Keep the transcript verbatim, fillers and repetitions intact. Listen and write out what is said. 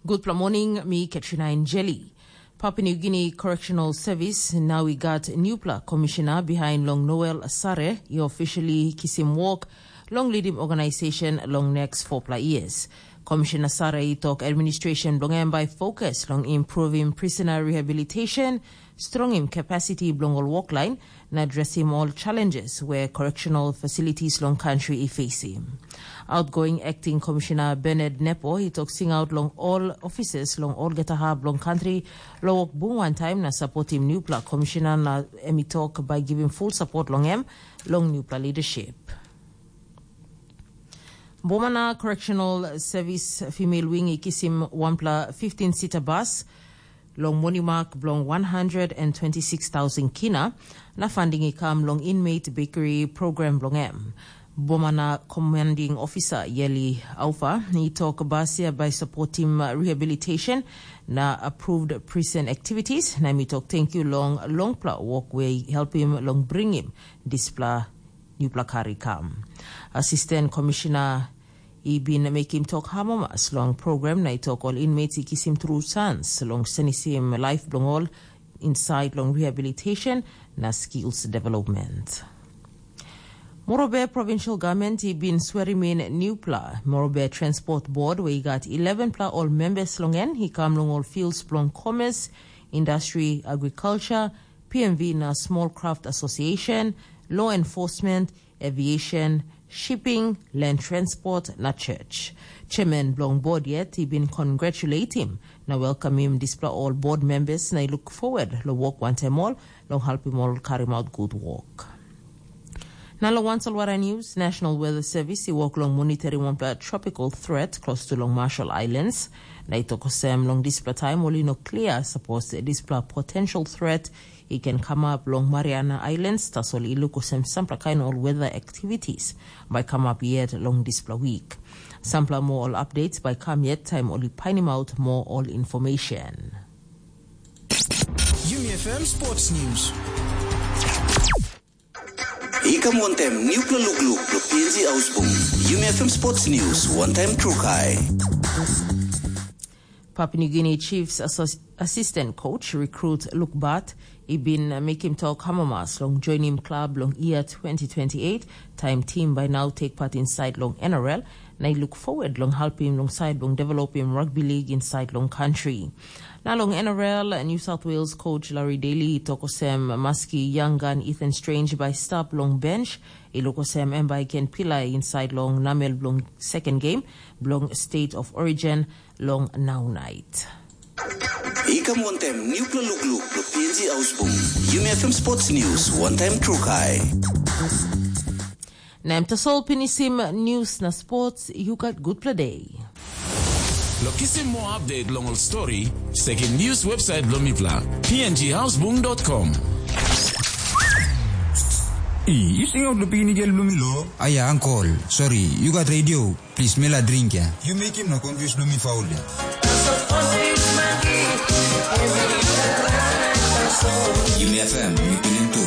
Gutpela moning, mi Katrina Enjeli. Papua New Guinea Correctional Service nau i gat nupela komishina bihain long Noel Sare i officially kisim wok long lidim organisation long next fopela years. Komishina Sare i tok administration bilong em bai fokus long improvim prisona rehabilitation, strongim capacity bilong ol woklain, na adresim ol challenges we correctional facilities long country i facing. Outgoing Acting Commissioner Bernard Nepo i tok singaut long ol officers long olgeta hap bilong country long wok bung wantaim na sapotim nupela komishina, na em i tok bai givim full support long em long nupela leadership. Bomana Correctional Service Female Wing i kisim wanpela fifteen sita bas long monimak bilong one hundred and twenty-six thousand kina, na funding i kam long inmate bakery program bilong em. Bomana Commanding Officer Yeli Aufa i tok bas ya bai supportim rehabilitation na approved prison activities, na mi tok thank you long longpela work we helpim long bringim dispela nupela kar i kam. Assistant Commissioner i bin mekim tok amamas long program na i tok ol inmates i kisim tru sans long senisim laip bilong ol insait long rehabilitation na skills development. Morobe Provincial Government i bin swerimin nupela Morobe Transport Board we i gat eleven pela ol members long en i kam long ol fields bilong commerce, industry, agriculture, P M V na Small Craft Association, law enforcement, aviation, shipping, land transport na church. Chairman bilong board yet i bin congratulatim na welcomim dispela ol board members na i look forward long work wantaim ol long helpim ol karim out good work. Na long wan solwara news, National Weather Service i work long monitoring wanpela tropical threat close to long Marshall Islands. Na i tok olsem long dispela taim ol i no clear suppose dispela potential threat i ken kamap long Mariana Islands, tasol i luk olsem sampela kain ol weather activities bai kamap yet long dispela wik. Sampela moa ol updates bai kam yet taim ol i painim out moa ol information. Yumi F M Sports News. I kam wantaim nupela lukluk lo P N G Ausbung. Yumi F M Sports News wantaim trukai. Papua New Guinea Chiefs Assistant Coach Recruit Luke Bat i bin mekim tok amamas long joinim klab long year twenty twenty-eight, taim tim bai nau take part inside long N R L, na i look forward long helpim long side long developim rugby league inside long country. Na long N R L, New South Wales coach Larry Daly i tok olsem maski young gun Ethan Strange bai stap long bench, i luk olsem em bai ken pilai inside long namel bilong second game bilong State of Origin long nau nait. I kam wantaim nupela lukluk lo P N G Ausbung. Yumi F M Sports News wantaim trukai. Na em tasol pinisim news na sports, you got good play day. Lo kisim more update long ol story, sekim news website bilong mipela, P N G Ausbung dot com. I, yu singaut lo pikinini gel bilong mi lo? Aya, ankol, sori, yu gat radio. Plis, mi la dring ya. Yu mekim na confuse bilong mi faul ya. Yumi F M, mi pilim tu.